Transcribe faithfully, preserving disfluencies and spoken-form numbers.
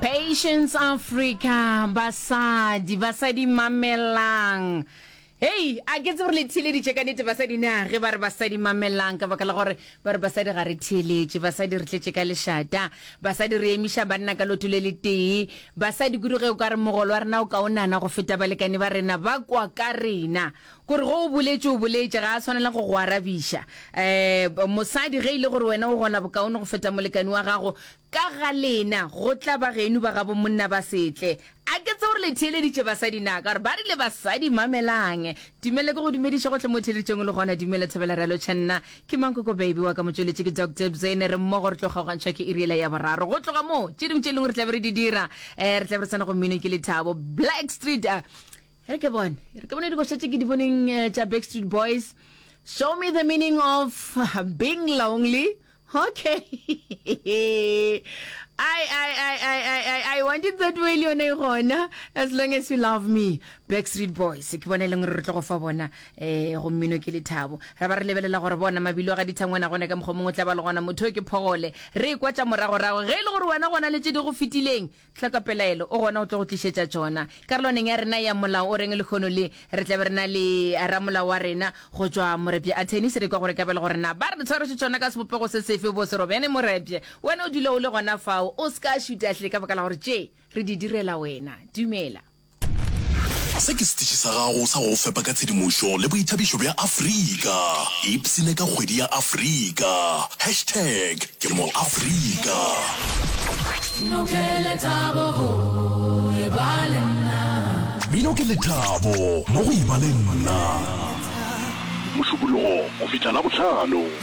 Patience Africa basadi basadi mamelang hei a ke tsebe gore le theeleditše ka nnete basadi na ge ba re basadi mamelang ka baka la gore ba re basadi ga re theeletše basadi re tletše ka lešata basadi re emiša banna ka loto le letee basadi kudu ge o ka re mogolo wa rena o kaonana go feta balekane ba rena ba kwa ka rena kore go o boletše o boletše ga a swanela go go arabiša um mosadi ge e le gore wena o gola bokaone go feta molekane wa gago ka ga lena go tla ba geno ba gabo monna ba setle a ke tse gore le theeleditše basadi na ka gore ba rile basadi mamelang dumele ke go dumediša gotlhe mo theeleditšeng le gona dumela thobela re lotšha nna ke mankoko baby wa ka motšweletši ke Doctor Bzene re mmogo re tlo kgaogantšhwa ke iriela ya boraro go tloga moo tše dingwe tše lengwe re tlabe re di dira um re tlabe re tsena go mmino ke lethabo Black Street uh, re ke bone re ke bone dikoša tše ke di boneng eh, tša Backstreet Boys show me the meaning of being lonely okay I, I, I, I, I, I, I want it that way le yone e gona as long as you love me Backstreet Boys ke bona e leng gore re tlo go fa bona um go mmino ke lethabo ra ba re lebelela gore bona mabilo a ga dithangwana gone ka mokgwa mongwe tla ba le gona motho o ke phogole re ekwa tša moragorago ge e le gore wena gona le tše di go fetileng tlhoka pelaelo o gona o tlo go tlišetša tšona karolwaneng ya rena ya molao o reng lekgono le re tlabe re na le ramolao wa rena go tšwa Morepje attorneys re kwa gore ka bele gore na ba re tshwaretše tšona ka sebopego se sefe bo serobjane Morepje wena o dula o le gona fao o se ka šutahle ka baka la gore tše re di direla wena dumela Se ke setiši sa gago sa go fepa ka tshedimošo le boithabišo bja Afrika. Ipsene ka kgwedi ya Afrika. Hashtag ke mo Afrika. Mmino ke lethabo go e ba le nna. Mmino ke lethabo mo go e ba le nna. Mošupologo go fihla Labohlano.